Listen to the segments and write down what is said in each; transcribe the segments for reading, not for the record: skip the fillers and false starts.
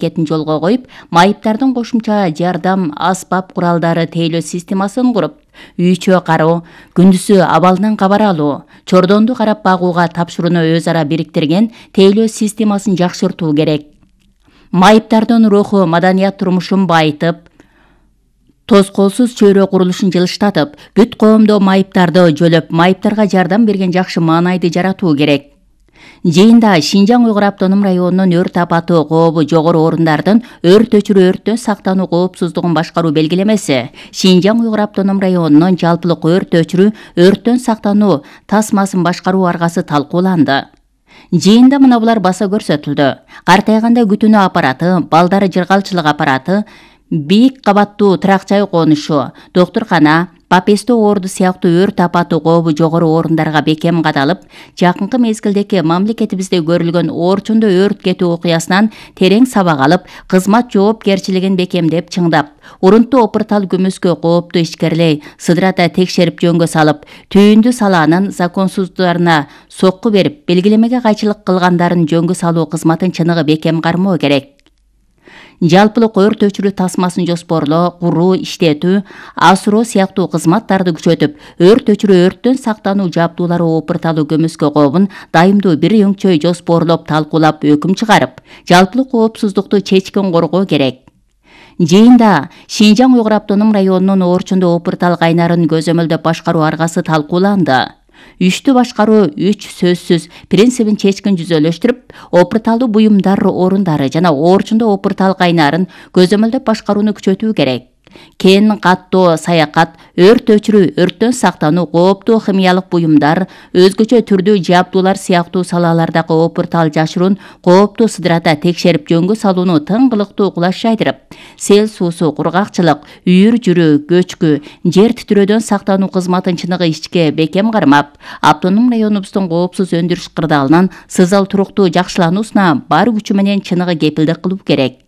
аракетин жолго коюп, майыптардын кошумча жардам аспап куралдары тейлөө системасын куруп, үй-чөө кароо, күндүзү абалынан кабар алуу, чордонду карап багууга тапшырууну өз ара бириктирген тейлөө системасын жакшыртуу керек. Майыптардын руху, маданият турмушун байытып, тоскоолсуз чөйрө курулушун жылыштатып, бүт коомдо майыптарды жөлөп, майыптарга жардам берген жакшы маанайды жаратуу керек. Жыйында Шинжаң Уйгур автоном районунун өрт апаты кообу жогору орундардын өрт өчүрүү өрттөн сактануу коопсуздугун башкаруу белгилемеси, Шинжаң Уйгур автоном районунун жалпылык өрт өчүрүү өрттөн сактануу тасмасын башкаруу аргасы талкууланды. Жыйында мына булар баса көрсөтүлдү. Картайганда күтүүнү аппараты, балдары жыргалчылык аппараты, бийик кабаттуу тракчай конушу, доктуркана, Папесто орду сыяктуу өрт апаты кообу жогору орундарга бекем кадалып, жакынкы мезгилдеги мамлекетибизде көрүлгөн Орчундо өрт кетүү окуясынан терең сабак алып, кызмат жоопкерчилигин бекемдеп чыңдап, урунтуу опуртал күмүскө кооптуу ишкерлей сыдырата текшерип жөнгө салып, түйүндү салаанын законсуздуктарына сокку берип, белгилемеге кайчылык кылгандарын жөнгө салуу кызматын чыныгы бекем кармоо керек. Жалпылык өрт өчүрүү тасмасын жоспорлоо, куруу, иштетүү, асыроо сыяктуу кызматтарды күчөтүп, өрт өчүрүү өрттөн сактануу жабдуулары опурталуу көмүскө кообун дайымдуу бир өңчөй жоспорлоп, талкуулап, өкүм чыгарып, жалпылык коопсуздукту чечкин коргоо керек. Жыйында Шинжаң Уйгур автоном районунун Орчундо опуртал кайнарын көзөмөлдөп башкаруу аргасы талкууланды. Үчтү башкаруу 3 сөзсүз принцибин чечкин жүзөлөштүрүп, опурталдуу буюмдар орундары жана Орчундо опуртал кайнарын көзөмөлдөп башкарууну күчөтүү керек. Кен, каттоо, саякат, өрт өчүрүү, өрттөн сактануу, кооптуу химиялык буюмдар, өзгөчө түрдүү жабдуулар сыяктуу салалардагы опуртал жашыруун кооптуу сыдырата текшерип жөнгө салууну тыңгылыктуу кулаш жайдырып, сел суусу, кургакчылык, үйүр жүрүү, көчкү, жер титирөөдөн сактануу кызматын чыныгы ичке бекем кармап, автоном районубуздун коопсуз өндүрүш кырдаалынын сызал туруктуу жакшылануусуна бар күчү менен чыныгы кепилдик кылуу керек.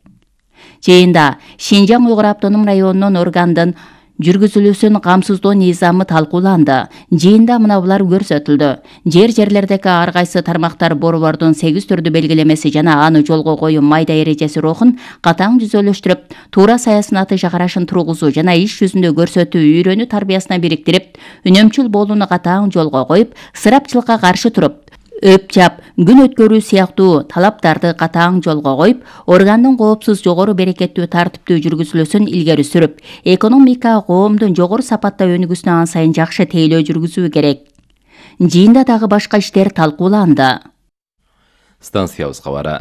Жыйында Шинжаң Уйгур автоном районунун органдын жүргүзүлүүсүн камсыздоо низамы талкууланды. Жыйында мына булар көрсөтүлдү. Жерлердеги ар кайсы тармактар борбордун 8 түрдүү белгилемеси жана аны жолго коюу майда эрежеси рухун катаң жүзөлөштүрүп, туура саясаты жакарашын тургузуу жана иш жүзүндө көрсөтүү үйрөнүү тарбиясына бириктирип, үнөмчүл болууну катаң жолго коюп, ысырапчылыкка каршы туруп, өпчап, күн өткөрүү сыяктуу талаптарды катаң жолго коюп, органдын коопсуз жогору берекеттүү тартиптүү жүргүзүлүүсүн илгери сүрүп, экономика коомдун жогору сапатта өнүгүүсүнө ан сайын жакшы тейлөө жүргүзүү керек. Жыйында дагы башка иштер талкууланды. Станциябыз кабары.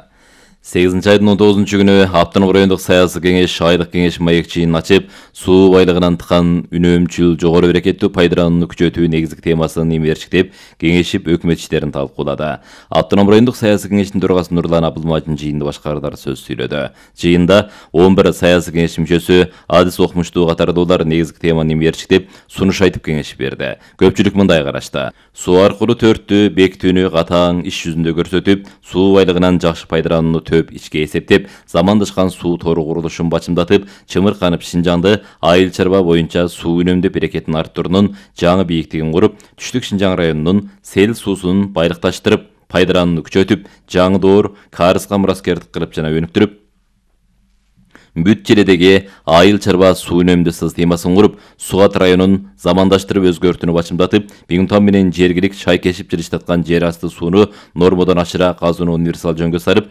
8 айдын 19 күнү автоном райондук саясий кеңеш айлык кеңеш маекчиин ачып, суу байлыгынан тыкан үнөмчүл жогору берекеттүү пайдаланууну күчөтүү негизги темасын имерчиктеп, кеңешип өкмөт иштерин талкуулады. Автоном райондук саясий кеңештин төрагасы Нурлан Абылмажин жыйында башкардар сөз сүйлөдү. Жыйында 11 саясий кеңеш мүчөсү, адис окумуштуу катардуулар негизги теманы имерчиктеп, сунуш айтып кеңеш берди. Көпчүлүк мындай карашта: суу аркылуу төрттү бекитүүнү катаң иш жүзүндө көрсөтүп, суу байлыгынан жакшы пайдаланууну төп ичке эсептеп, замандашкан суу тору курулушун бачымдатып, чымырканып Шинжаңды айыл чарба боюнча суу үнөмдөө берекетин арттыруунун жаңы бийиктигин куруп, түштүк Шинжаң районунун сел суусун байлыкташтырып, пайдаланууну күчөтүп, жаңы доор карызга мураскердик кылып жана өнүктүрүп, бүт желедеги айыл чарба суу үнөмдөө системасын куруп, Сугат районун замандаштырып өзгөртүүнү бачымдатып, Бигунтан менен жергилик шай кешип жылыштаткан жер асты сууну нормодон ашыра казууну универсал жөнгө сарып,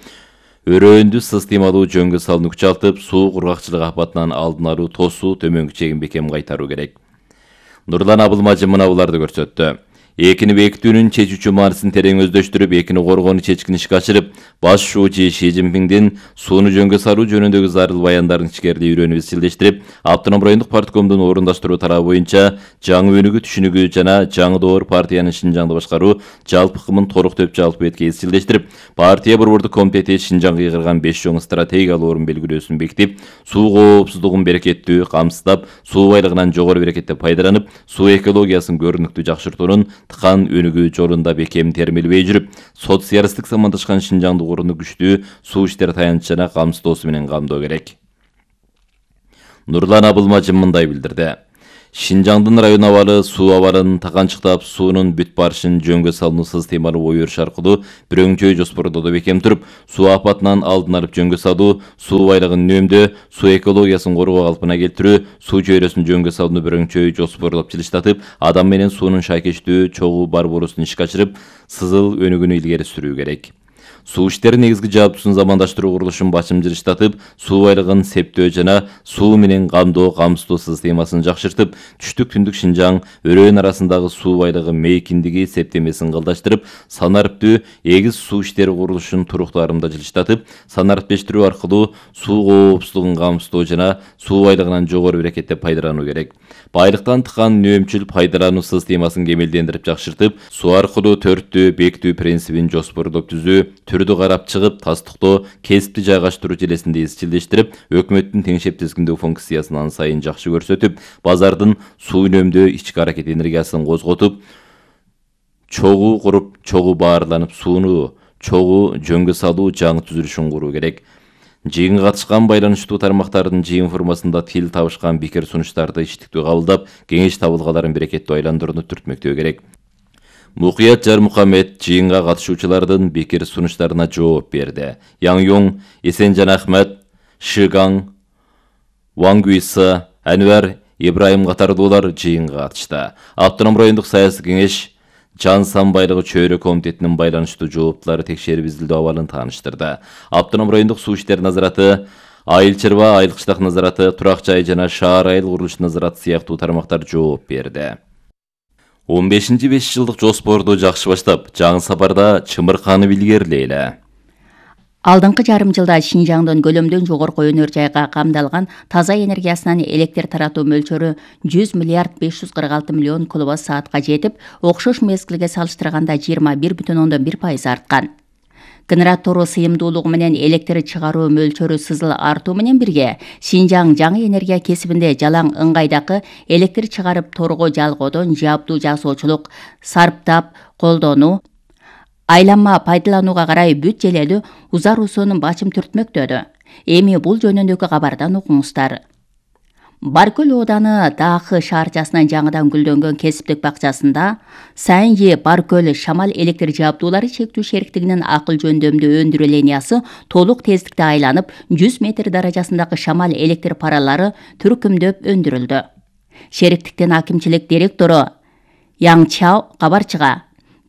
өрөөндү системалуу жөнгө салууну күчалтып, суу кургакчылык апатынан алдын алуу, тосуу, төмөнкү чегин бекем кайтаруу керек. Нурлан Абылмажин мына буларды көрсөттү. Экини бекитүүнүн чечүүчү маанисин терең өздөштүрүп, экини коргоону чечкин ишке ашырып, баш шуучу Ши Цзиньпиндин сууну жөнгө салуу жөнүндөгү зарыл баяндарын ичкерилей үйрөнүп изчилдештирип, автоном райондук парткомдун орундаштыруу тарабы боюнча жаңы өнүгүү түшүнүгү жана жаңы доор партиянын Шинжаңды башкаруу жалпы кымын толук төп жалпы бетке изчилдештирип, партия борбордук комитети Шинжаңга кыйгырган 5 чоң стратегиялык орун белгилөөсүн бекитип, суу коопсуздугун берекеттүү камсыздап, суу байлыгынан жогору берекетте пайдаланып, суу экологиясын көрүнүктүү жакшыртуунун тыкан өнүгүү жолунда бекем термелбей жүрүп, социалисттик замандашкан Шинжаңды курууну күчтүү суу иштер таянычы жана камсыздоосу менен камдоо керек. Нурлан Абылмажин мындай билдирди. Шинжаңдын район абалы суу абалын таканчыктап, суунун бүт барышын жөнгө салынуу системалуу ой өрүш аркылуу бирөңчөй жоспордоодо бекем туруп, суу апатынан алдын алып жөнгө салуу, суу байлыгын үнөмдөө, суу экологиясын коргоо калпына келтирүү, суу жүйрөсүн жөнгө салууну бирөңчөй жоспорлоп жылыштатып, адам менен суунун шайкештүү чогуу барбоорусун ишке ашырып, сызыл өнүгүүнү илгери сүрүү керек. Суу иштери негизги жааптуусун замандаштыруу курулушун башым жылыштатып, суу байлыгын септөө жана суу менен камсыздоо системасын жакшыртып, түштүк түндүк Шинжаң өрөөн арасындагы суу байлыгы мейкиндиги септемесин кылдаштырып, санариптүү эгиз суу иштери курулушун туруктуу арымда жылыштатып, санариптештирүү аркылуу суу коопсуздугун камсыздоо жана суу байлыгынан жогору берекеттеп пайдалануу керек. Байлыктан тыкан үнөмчүл пайдалануу системасын кемелдендирип жакшыртып, суу аркылуу төрттүү бекитүү принцибин жоспорлоп түзүү, түрдү карап чыгып, тастыктоо, кесипти жайгаштыруу желесинде изчилдештирип, өкмөттүн теңшеп тизгиндөө функциясын ан сайын жакшы көрсөтүп, базардын суу үнөмдөө ички аракет энергиясын козготуп, чогуу куруп, чогуу баарланып, сууну чогуу жөнгө салуу жаңы түзүлүшүн куруу керек. Жыйынга катышкан байланыштуу тармактардын жыйын формасында тил табышкан пикир сунуштарды иштиктүү кабылдап, кеңеш табылгаларын берекеттүү айландырууну түртмөктөө керек. Мукуят Жармухамед жыйынга катышуучулардын пикир сунуштарына жооп берди. Яңюң, Эсенжан Ахмет, Шыгаң, Вангуиса, Анвар Ибраим катардуулар жыйынга катышты. Автоном райондук саясий кеңеш Жан сан байлыгы чөйрө комитетинин байланыштуу жооптулары текшерип изилдөө абалын тааныштырды. Автоном райондук суу иштери назараты, айыл чарба, айыл кыштак назараты, турак жай жана шаар айыл курулуш назараты сыяктуу тармактар жооп берди. 15-5 жылдык жоспорду жакшы баштап, жаңы сапарда чымырканып илгерилейли. Алдыңкы жарым жылда Шинжаңдын көлөмдөн жогорку өнөр жайга камдалган таза энергиясынан электр таратуу мөлчөрү 100 миллиард 546 миллион киловатт саатка жетип, окшош мезгилге салыштырганда 21,1% арткан. Генератору сыйымдуулугу менен электр чыгаруу мөлчөрү сызыл артуу менен бирге, Шинжаң жаңы энергия кесибинде жалаң ыңгайдагы электр чыгарып торго жалгоодон жабдуу жасоочулук, сарптап колдонуу, айланма пайдаланууга карай бүт желелүү узаруусун бачым түртмөктөдү. Эми бул жөнүндөгү кабардан окуңуздар. Баркөл ооданы Дахы шаарчасынын жаңыдан гүлдөнгөн кесиптик бакчасында Сайынжи Баркөл шамал электр жабдуулары чектүү шериктигинин акыл жөндөмдүү өндүрүү линиясы толук тездикте айланып, 100 метр даражасындагы шамал электр паралары түркүмдөп өндүрүлдү. Шериктиктин акимчилик директору Яң Чао кабарчыга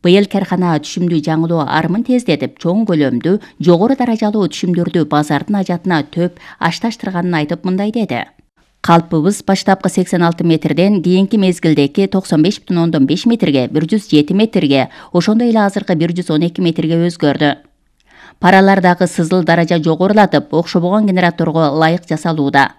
быйыл кархана түшүмдүү жаңылоо армын тездетип, чоң көлөмдүү, жогору даражалуу түшүмдөрдү базардын ажатына төп ашташтырганын айтып мындай деди. Калпыбыз баштапкы 86 метрден кийинки мезгилдеки 95,5 метрге, 107 метрге, ошондой эле азыркы 112 метрге өзгөрдү. Паралардагы сызыл даража жогорулатып, окшобогон генераторго ылайык жасалууда.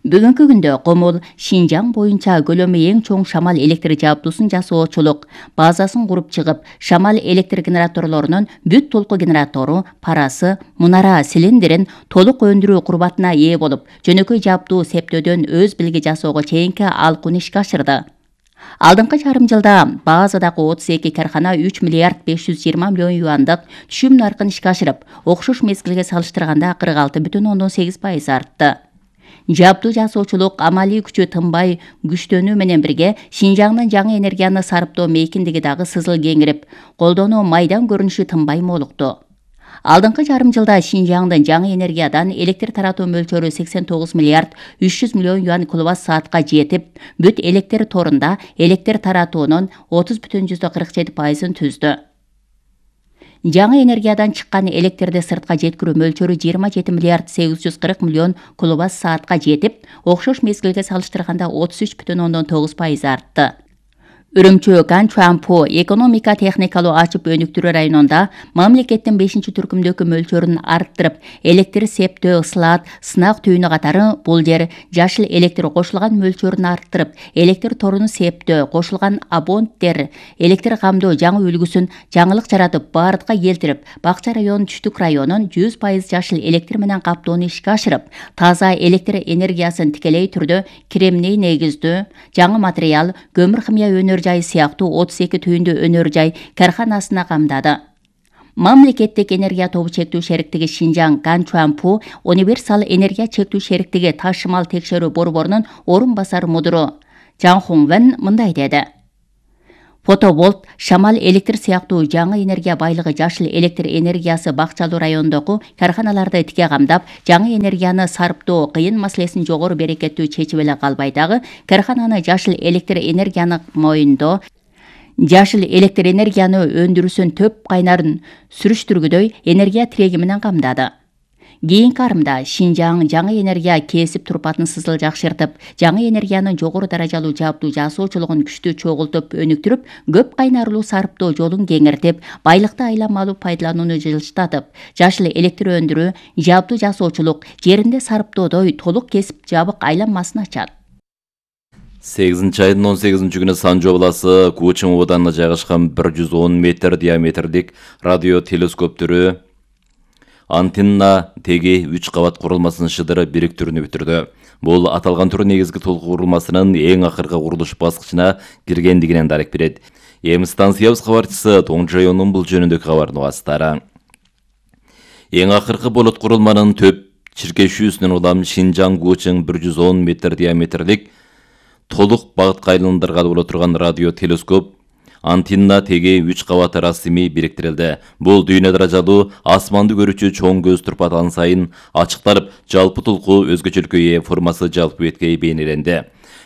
Бүгүнкү күндө Комол Шинжаң боюнча көлөмү эң чоң шамал электр жабдуусын жасоочулук базасын куруп чыгып, шамал электр генераторлорунун бүт толку генератору, парасы, мунара, цилиндрин толук өндүрүү курбатына ээ болуп, жөнөкөй жабдуу септөөдөн өз билги жасоого чейинки алкууну ишке ашырды. Алдыңкы жарым жылда базадагы 32 кархана 3 миллиард 520 миллион юандык түшүм наркын ишке ашырып, окшош мезгилге салыштырганда 46,8% артты. Жабдуу жасоочулук амалий күчү тынбай күчтөнүү менен бирге Шинжаңдын жаңы энергияны сарптоо мейкиндиги дагы сызыл кеңирип, колдонуу майдан көрүнүшү тынбай молукту. Алдыңкы жарым жылда Шинжаңдын жаңы энергиядан электр таратуу мөлчөрү 89 миллиард 300 миллион юан киловатт саатка жетип, бүт электр торунда электр таратуунун 30,47%-ын түздү. Жаңы энергиядан чыккан электрди сыртка жеткирүү мөлчөрү 27 миллиард 840 миллион киловатт саатка жетип, окшош мезгилге салыштырганда 33,9% артты. Үрүмчү Ганчуанпу экономика техникалуу ачып өнүктүрүү районунда мамлекеттин 5-түркүмдөгү мөлчөрүн арттырып, электр септөө, ысылат, сынак түйүнү катары бул жер жашыл электр кошулган мөлчөрүн арттырып, электр торуну септөө, кошулган абоненттер, электр камдоо жаңы үлгүсүн жаңылык жаратып, бардыкка келтирип, Бакча районунун түштүк районун 100% жашыл электр менен каптоону ишке ашырып, таза электр энергиясын тикелей түрдө кремний негиздүү жаңы материал, көмүр химия өнөр жай сыяктуу 32 түйүндүү өнөр жай карханасына камдады. Мамлекеттик энергия тобу чектүү шериктиги Шинжаң Ганчуанпу универсал энергия чектүү шериктиги ташымал текшерүү борборунун орун басар мудуру Жан Хуңвен мындай деди. Фотоболт, шамал электр сыяктуу жаңы энергия байлыгы жашыл электр энергиясы бакчалуу райондогу карханаларды тике камдап, жаңы энергияны сарптоо кыйын маселесин жогору берекеттүү чечип эле калбай дагы, кархананы жашыл электр энергияны моюндоо, жашыл электр энергияны өндүрүүсүн төп кайнарын сүрүштүргүдөй энергия тиреги менен камдады. Кийинки арымда Шинжаң жаңы энергия кесип турпатын сызыл жакшыртып, жаңы энергиянын жогору даражалуу жааптуу жасоочулугун күчтүү чогултуп өнүктүрүп, көп кайнарлуу сарптоо жолун кеңиртип, байлыкты айланмалуу пайдаланууну жылыштатып, жашыл электр өндүрүү, жааптуу жасоочулук, жеринде сарптоодой толук кесип жабык айланмасын ачат. 8-айдын 18-күнү Санжо обласы Кучум абаданына жайгашкан 110 метр диаметрлик радио телескоптөрү антенна теги 3 кабат курулмасынын шыдыры бириктүүрүнү бүтүрдү. Бул аталган түр негизги толук курулмасынын эң акыркы курулуш баскычына киргендигинен дарек берет. Эми станциябыз кабарчысы Тоңжоюнун бул жөнүндөгү кабарын угасыздар. Эң акыркы болот курулманын төп чиркешүүсүнөн улам Шинжаң Кучум 110 метр диаметрлик толук багытка айландыргалы боло турган радио телескоп антенна теги 3 кабат расмий бириктирилди. Бул дүйнө даражалуу асманды көрүүчү чоң көз турпатан сайын ачыкталып, жалпы толку өзгөчөлүккө ээ формасы жалпы бетке бейнеленди.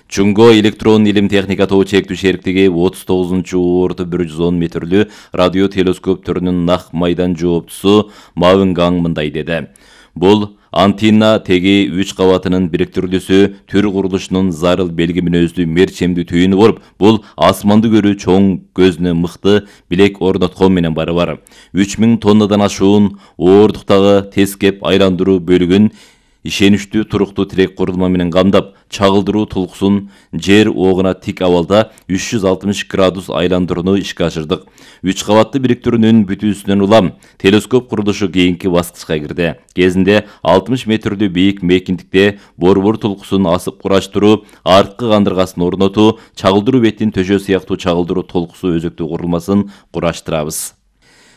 Чуңго электрон илим техника тобу чектүү шериктиги 39-орто 110 метрлүү радио телескоп түрүнүн нак майдан жооптусу Мавынгаң мындай деди. Бул антенна теги 3 кабатынын бириктирилүүсү түр курулушунун зарыл белги мүнөздүү мерчемдүү түйүнү болуп, бул асманды көрүү чоң көзүнө мыкты билек орноткон менен барабар. 3000 тоннадан ашуун оордуктагы тез кеп айландыруу бөлүгүн ишеничтүү туруктуу тирек курулма менен камдап, чагылдыруу толкусун жер огуна тик абалда 360 градус айландырууну ишке ашырдык. 3 кабатты бириктирүүнүн бүтүүсүнөн улам телескоп курулушу кийинки баскычка кирди. Кезинде 60 метрлүү бийик мейкиндикте борбор толкусун асып кураштыруу, арткы кандыргасын орнотуу, чагылдыруу бетин төшөө сыяктуу чагылдыруу толкусу өзөктүү курулмасын кураштырабыз.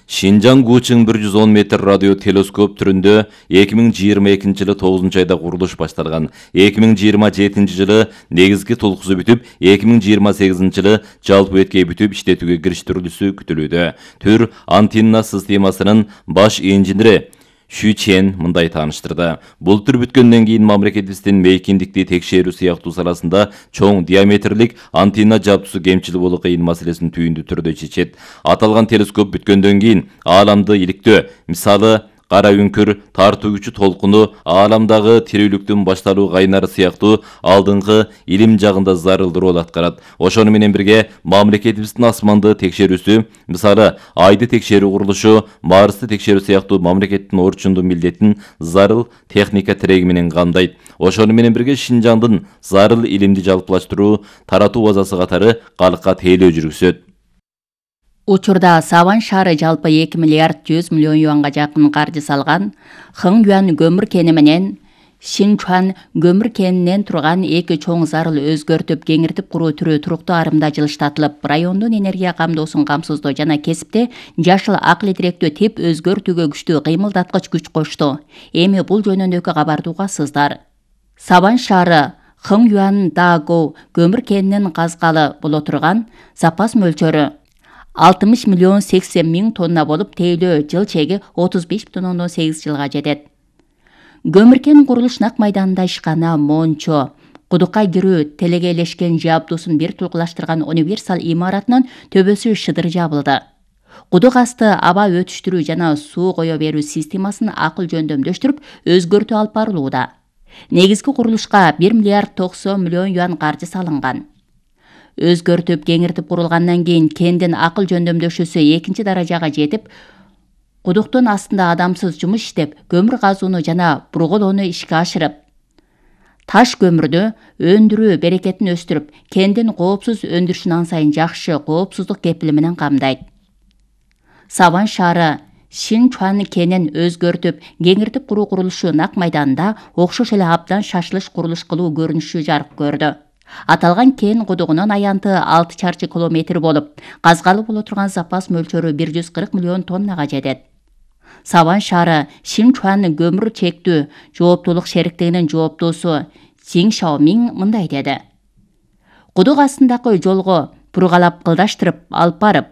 Шинжаң Кучум 110 метр радио телескоп түрүндө 2022 жылы 9 айда курулуш башталган. 2027 жылы негизги толкусу бүтүп, 2028 жылы жалпы бетке бүтүп иштетүүгө кириштерилүүсү күтүлүүдө. Түр антенна системасынын баш инженери Шү Чен мындай тааныштырды. Бул түр бүткөндөн кийин мамлекетибиздин мейкиндикти текшерүү сыяктуу саласында чоң диаметрлик антенна жабдуусу кемчил болуу кыйын маселесин түйүндүү түрдө чечет. Аталган телескоп бүткөндөн кийин ааламды иликтөө, мисалы кара үңкүр тартуу күчү толкуну, ааламдагы тирүүлүктүн башталуу кайнары сыяктуу алдыңкы илим жагында зарыл роль аткарат. Ошону менен бирге мамлекетибиздин асманды текшерүүсү, мисалы айды текшерүү курулушу, Марсты текшерүү сыяктуу мамлекеттин орчундуу милдетин зарыл техника тиреги менен камдайт. Ошону менен бирге Шинжаңдын зарыл илимди жалпылаштыруу, таратуу базасы катары калкка тейлөө жүргүзөт. Учурда Саван шаары жалпы 2 миллиард 100 миллион юанга жакын каржы салган Хыңюан көмүр кени менен Шинчуан көмүр кенинен турган эки чоң зарыл өзгөртүп кеңиртип куруу түрү туруктуу арымда жылыштатылып, райондун энергия камдоосун камсыздоо жана кесипте жашыл акыл тиректүү тип өзгөртүүгө күчтүү кыймылдаткыч күч кошту. Эми бул жөнүндөгү кабарды угасыздар. Саван шаары Хыңюан Даго көмүр кенинен казгалы боло турган запас мөлчөрү 60 миллион 80 миң тонна болуп, тейлөө жыл чеги 35,8 жылга жетет. Көмүркен курулуш нак майданында ишкана Мончо, кудукка кирүү телегейлешкен жабдуусун бир тулкулаштырган универсал имаратынын төбөсү шыдыр жабылды. Кудук асты аба өтүштүрүү жана суу кое берүү системасын акыл жөндөмдөштүрүп, өзгөртүү алып барылууда. Негизги курулушка 1 миллиард 90 миллион юан каржы салынган. Өзгөртүп кеңиртип курулгандан кийин кендин акыл жөндөмдөшүүсү 2 даражага жетип, кудуктун астында адамсыз жумуш иштеп, көмүр казууну жана бурголоону ишке ашырып, таш көмүрдү өндүрүү берекетин өстүрүп, кендин коопсуз өндүрүшүн ансайын жакшы коопсуздук кепили менен камдайт. Саван шаары Шинчуан кенин өзгөртүп, кеңиртип куруу курулушу нак майданында окшош эле абдан шашылыш курулуш кылуу көрүнүшү жарык көрдү. Аталган кен кудугунун аянты 6 чарчы километр болуп, казгалы боло турган запас мөлчөрү 140 миллион тоннага жетет. Саван шаары Шинчуан көмүр чектүү жооптуулук шериктигинин жооптуусу Цин Шаомин мындай деди. Кудук астындагы жолго пургалап кылдаштырып алып барып,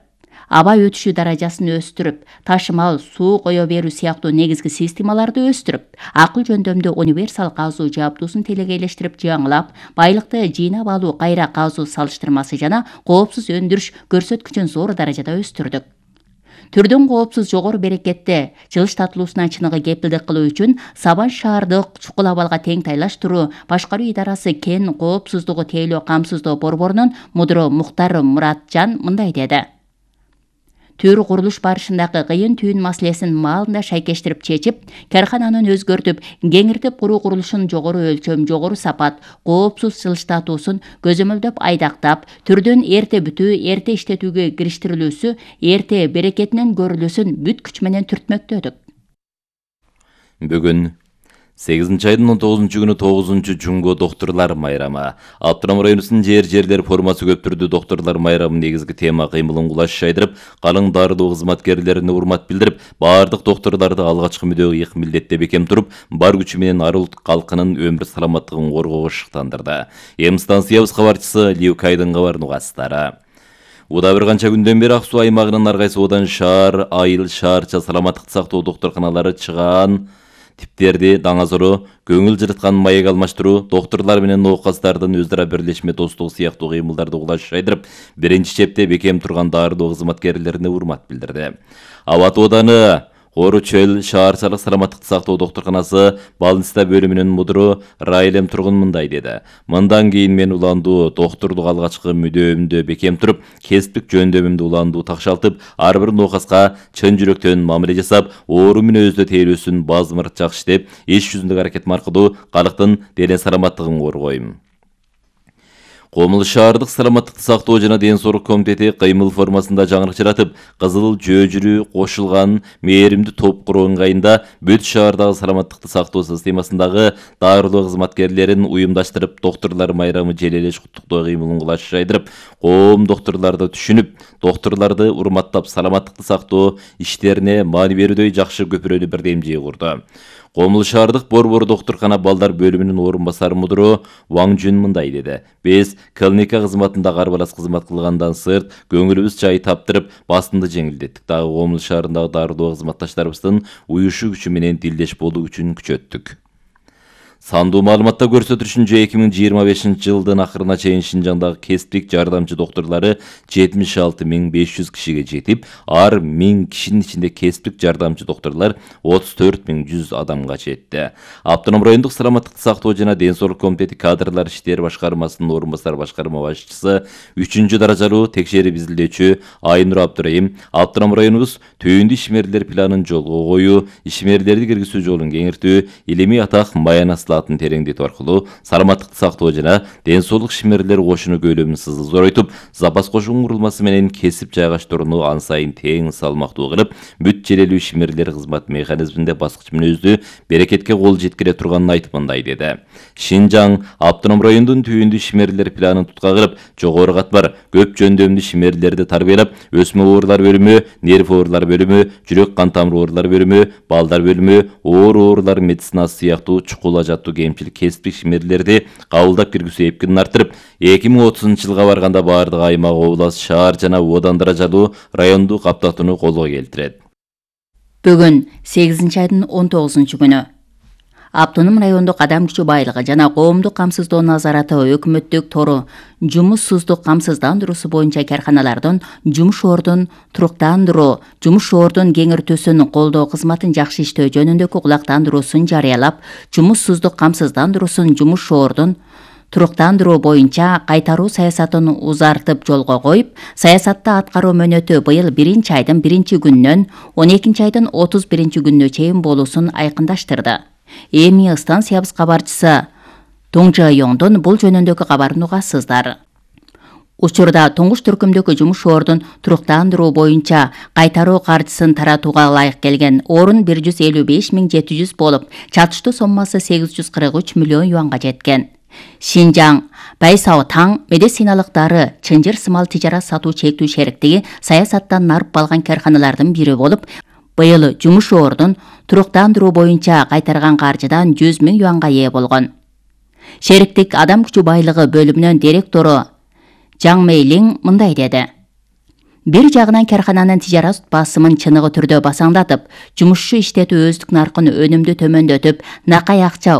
аба өтүшү даражасын өстүрүп, ташымал суу кое берүү сыяктуу негизги системаларды өстүрүп, акыл жөндөмдүү универсал казуу жабдуусун телегейлештирип жаңылап, байлыкты жыйнап алуу кайра казуу салыштырмасы жана коопсуз өндүрүш көрсөткүчүн зор даражада өстүрдүк. Түрдөн коопсуз жогору берекетте жылыш татылуусуна чыныгы кепилдик кылуу үчүн Сабан шаардык чукул абалга тең тайлаштыруу башкаруу идарасы кен коопсуздугу тейлөө камсыздоо борборунун мудуру Мухтар Муратжан мындай деди. Төр курулуш барышындагы кыйын түйүн маселесин маалында шайкештирип чечип, каркананын өзгөртүп, кеңиртип куруу курулушун жогору өлчөм, жогору сапат, коопсуз жылыш татуусун көзөмөлдөп айдактап, түрдөн эрте бүтүү, эрте иштетүүгө кириштирилүүсү, эрте берекетинен көрүлүүсүн бүт күч менен түртмөктөдүк. Бүгүн 8-айдын 19-күнү 9-жунго доктурлар майрамы. Аптырам районунун жерлер формасы көп түрдүү доктурлар майрамынын негизги тема кыймылын кулаш шайдырып, калың дардуу кызматкерлерине урмат билдирип, баардык доктурларды алгачкы мүдөгө ыйык милдетте бекем туруп, бар күчү менен ар улут калкынын өмүр саламаттыгын коргоого шыктандырды. Станциябыз кабарчысы Ливкайдын кабарын угасыздары. Уда бир канча күндөн бери Ак Суу аймагынын ар кайсы одан шаар, айыл, шаарча саламаттыкты сактоо доктурканалары чыгаан типтерди даңазору, көңүл жырыткан маек алмаштыруу, доктурлар менен оокастардын өзара бирлешме достугу сыяктуу кыймылдарды кулаш шайдырып, биринчи чепте бекем турган дардуу кызматкерлерине урмат билдирди. Абат ооданы Ору чөл шаарчалык саламаттыкты сактоо доктурканасы балниста бөлүмүнүн мудуру Райлем Тургун мындай деди. Мындан кийин мен уландуу доктурлук алгачкы мүдөөмдө бекем туруп, кесиптик жөндөмүмдү уландуу такшалтып, ар бир ноокаска чын жүрөктөн мамиле жасап, оору менен өздө тейлөөсүн базмырт жакшы иштеп, иш жүзүндөгү аракетим аркылуу калктын дене саламаттыгын коргойм. Комул шаардык саламаттыкты сактоо жана ден соолук комитети кыймыл формасында жаңырык жаратып, кызыл жөөжүрүү кошулган мээримдүү топ куруу ыңгайында бүт шаардагы саламаттыкты сактоо системасындагы дарылоо кызматкерлерин уюмдаштырып, доктурлар майрамы желелеш куттуктоо кыймылын кулаш жайдырып, коом доктурларды түшүнүп, доктурларды урматтап, саламаттыкты сактоо иштерине маани берүүдөй жакшы көпүрөлүү бирдемчиги курду. Комул шаардык борбору доктуркана балдар бөлүмүнүн орун басары мудуру Ваң Жүн мындай деди. Биз клиника кызматында карбалас кызмат кылгандан сырт көңүлүбүз жай таптырып, бастынды жеңилдеттик. Дагы Комул шаарындагы дардуу кызматташтарыбыздын уюшу күчү менен тилдеш болуу күчүн күчөттүк. Сандуу маалыматта көрсөтүлүшүнчө 2025 жылдын акырына чейин Шинжаңдагы кесиптик жардамчы доктурлары 76.500 кишиге жетип, ар 1000 кишинин ичинде кесиптик жардамчы доктурлар 34.100 адамга жетти. Автоном райондук саламаттыкты сактоо жана ден соолук комитети кадрлар иштери башкармасынын орун басар башкарма башчысы 3 даражалуу текшерип изилдөөчү Айнур Абдырайым автоном районубуз түйүндүү ишмерлер планын жолго коюу, ишмерлерди киргизүү жолун кеңиртүү, илимий атак Маянаслатын тереңдетүү аркылуу саламаттыкты сактоо жана ден соолук ишмерлер кошуну көйлөмүн зоройтуп, запас кошун курулмасы менен кесип жайгаштырууну ан сайын тең салмактуу кылып, бүт желелүү ишмерлер кызмат механизминде баскыч мүнөздүү берекетке кол жеткире турганын айтып мындай деди. Шинжаң автоном райондун түйүндүү ишмерлер планын тутка кылып, жогору катмар көп жөндөмдүү ишмерлерди тарбиялап, өсмө оорулар бөлүмү, нерв оорулар бөлүмү, жүрөк кан тамыр оорулар бөлүмү, балдар бөлүмү, оорулар медицинасы сыяктуу чукул ажаттуу кемчилик кесиптик ишмерлерди кабылдап киргизүү эпкинин арттырып, 2030-жылга барганда баардык аймак, област, шаар жана одан даражалуу райондук каптатууну колго келтирет. Бүгүн 8-айдын 19-күнү Автоном райондук адам күчү байлыгы жана коомдук камсыздоо назараты өкмөттүк тору жумушсуздук камсыздандыруусу боюнча карканалардын жумуш ордун туруктандыруу, жумуш ордун кеңиртүүсүн колдоо кызматын жакшы иштөө жөнүндөгү кулактандыруусун жарыялап, жумушсуздук камсыздандыруусун жумуш ордун туруктандыруу боюнча кайтаруу саясатын узартып жолго коюп, саясатта аткаруу мөөнөтү быйыл 1-айдын 1-күнүнөн 12-айдын 31-күнүнө чейин болуусун айкындаштырды. Эми станциябыз кабарчысы Доңжа Йоңдон бул жөнүндөгү кабарын угасыздар. Учурда туңгуч түркүмдөгү жумуш ордун туруктандыруу боюнча кайтаруу каржысын таратууга ылайык келген орун 155.700 болуп, чатыштуу соммасы 843 миллион юанга жеткен. Шинжаң Байсао таң медициналык дары чынжыр сымал тижарат сатуу чектүү шериктиги саясаттан нарып калган карканалардын бири болуп, быйыл жумуш ордун туруктандыруу боюнча кайтарган каржыдан 100 000 юанга ээ болгон. Шериктик адам күчү байлыгы бөлүмүнүн директору Жаң Мейлиң мындай деди. Бир жагынан кархананын тижарат басымын чыныгы түрдө басаңдатып, жумушчу иштетүү өздүк наркын өнүмдү төмөндөтүп, накай акча